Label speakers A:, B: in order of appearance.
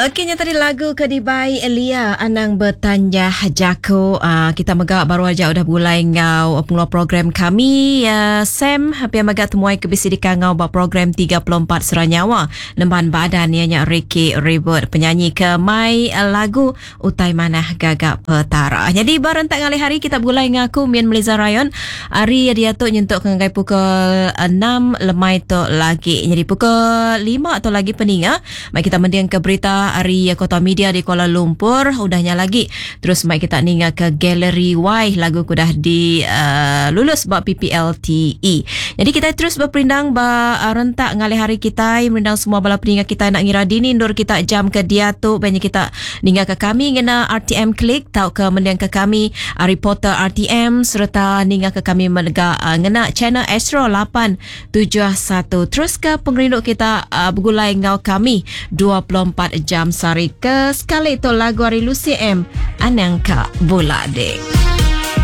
A: Okey nya tadi lagu ke dibai Elia Anang Betanjah Jaku. Uh, kita mega baru aja udah begulai enggau pengeluar program kami uh, Sam pia mega temuai ke bisi dikangau ba program 34 Sera Nyawa Nemban Badan iya nya Ricky Ribut penyanyi ke mai uh, lagu Utai Manah Gaga Petara. Nyadi ba rentak ngalih hari kita begulai enggau aku Min Meliza Rayon ari diatu nyentuk ke ngagai pukul 6 lemai tu lagi. Nyadi pukul 5 tu lagi peninga Mai kita mending ke berita ari Kota Media di Kuala Lumpur. Udah nya lagi terus mai kita ninga ke Gallery Y lagu ke udah di uh, lulus ba PPLTE. Jadi kita terus berperindang ba uh, rentak ngalih hari kita merindang semua bala peninga kita nak ngira dini endur kita jam ke diatu banyak kita ninga ke kami ngena RTM Click tauka mending ke kami ari portal RTM sereta ninga ke kami mega uh, ngena channel Astro 8 71. Teruska pengerindu kita uh, begulai enggau kami 24 jam sehari. Ke sekali tu lagu ari Lucy M. Anang ka bula dek.